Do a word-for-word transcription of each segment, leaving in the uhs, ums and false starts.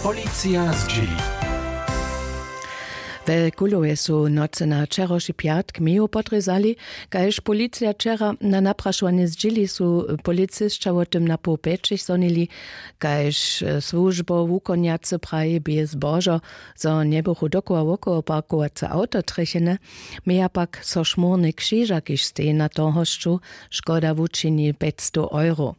Policija zdźěli. We Kulowje su nocy na wčerawši pjatk meju podrězali. Kaž policija wčera na naprašowanje zdźěli, su policisća wo tym na poł pjećich zhonili. Kaž słužbow wukonjacy praji, bě zbožo, zo njebychu dokoła wokoło parkowace awto trjechene. Měja pak so šmórny křiža, kiž steji na tohosću, škoda wučini pjećstow euro.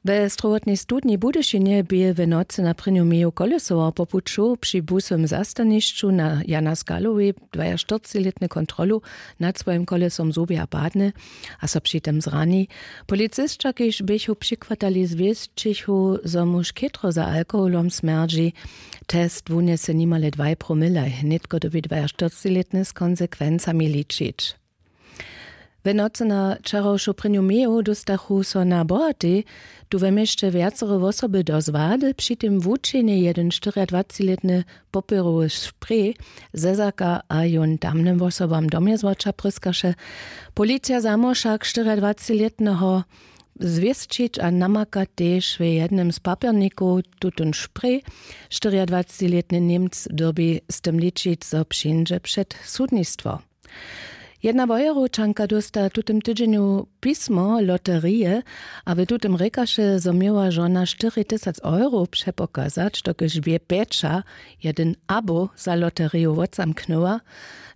We strowotnej studni w Budyšinje bě w nocy na prěnju meju kolesował po puću při busowym zastanišću na Jana Skalowej dwajaštyrcilětny kontrolu nad swojim kolesom zhubja padny a so při tym zrani. Policisća, kiž běchu přichwatali, zwěsćichu, zo muž chětro za alkoholom smjerdźi. Test wunjese nimale dwaj promilaj, nětko dyrbi dwajaštyrcilětny z konsekwencami ličić. We nocy na wčerawšu prěnju meju dóstachu so na Bohatej tu we měsće wjacore wosoby do zwady, při tym wučinje jedyn štyriadwacilětny popěrowy sprej zezaka a jón tamnym wosobam do mjezwoća pryskaše. Policija zamołwšak štyriadwacilětneho zwěsćić a namaka tež w jednym z papěrnikow tutón sprej. Štyriadwacilětny Němc dyrbi z tym ličić, zo přińdźe před sudnistwo. Jedna wojerowčanka dósta w tutym tydźenju pismo loterije a w tutym rěkaše, zo měła žona štyri tysac euro přepokazać, dokelž bě pjeća jedyn abo za loteriju wotzamknyła.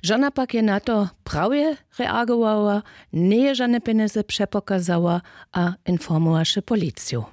Žona pak je na to prawje reagowała, njeje žane pjenjezy přepokazała a informowaše policiju.